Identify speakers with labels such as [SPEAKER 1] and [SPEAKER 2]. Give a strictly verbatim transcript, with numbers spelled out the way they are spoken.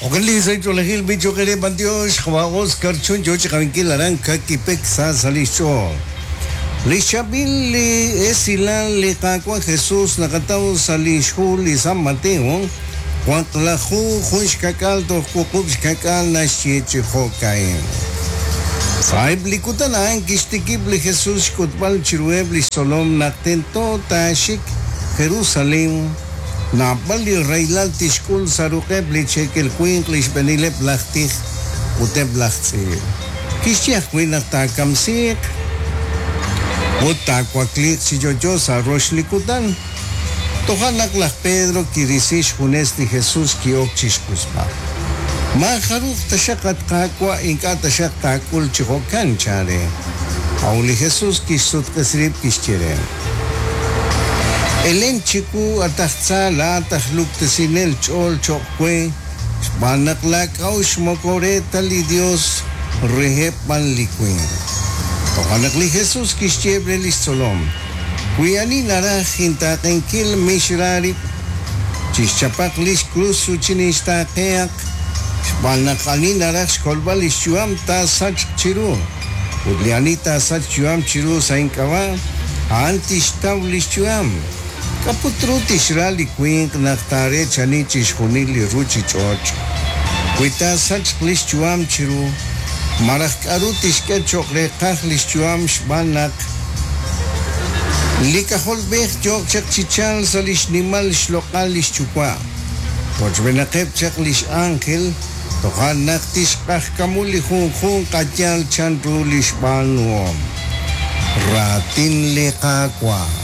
[SPEAKER 1] Okenli saych'oolejil bich'oqere b'antiox jwa Oscar Chun yo chiqawinkil aran kakipek sa salixch'ool. Lix chaab'il li esilal li Qaawa' Jesus naqataw sa' lix hu li San Mateo, waqlaju jun xka'k'aal toj wuqub' xka'k'aal naxye chi jo'ka'in. Sa'eb' li kutan a'an kixtikib' li Jesus xk'utb'al chiruheb' lix tzolom naq tento taaxik Jerusalén, naab'al li rahilal tixk'ul sa' ruq'eb' li cheekel winq li xb'eenileb' laj tij ut eb' laj tz'iib'. Kixye ajwi' naq taakamsiiq ut taawakliiq chi yo'yo sa' rox li kutan. Toja' naq laj Pedro kirisi xjunes li Jesus ki'ok chixq'usb'al. Maajaruj taxaq at Qaawa' ink'a' taxaq taak'ul chi jo'kan chan re. A'ut li Jesus kixsutq'isi rib' kixye re: Elen chiwu at aj tza laa'at aj luktesinel ch'ool cho'q we, xb'aan naq laak'a'uxl moko re ta li Dios reheb' b'an li winq. Toja' naq li Jesus kixye re lix tzolom: Wi ani naraj intaaqenkil mixra rib', chixchapaq lix krus ut chinixtaaqehaq, xb'aan naq ani naraj xkolb'al lix yu'am taasachq chiru, ut li ani taasachq yu'am chiru sa' ink'ab'a', a'an tixtaw lix yu'am. K'aput ru tixra li winq naq taareechani chixjunil li ruchich'och'. Wi taasachq lix yu'am chiru, malaj k'a'ru tixk'e cho'q reeqaj lix yu'am xb'aan naq li k'ajolb'ej yooq chaq chi chalk sa' lix nimal xloq'al lix yuwa'. Rochb'eenaqeb' chaq lix ángel, toja' naq tixq'ajkamu li junjunq a'yaal chanru lix b'aanuhom. Raatin li Qaawa'.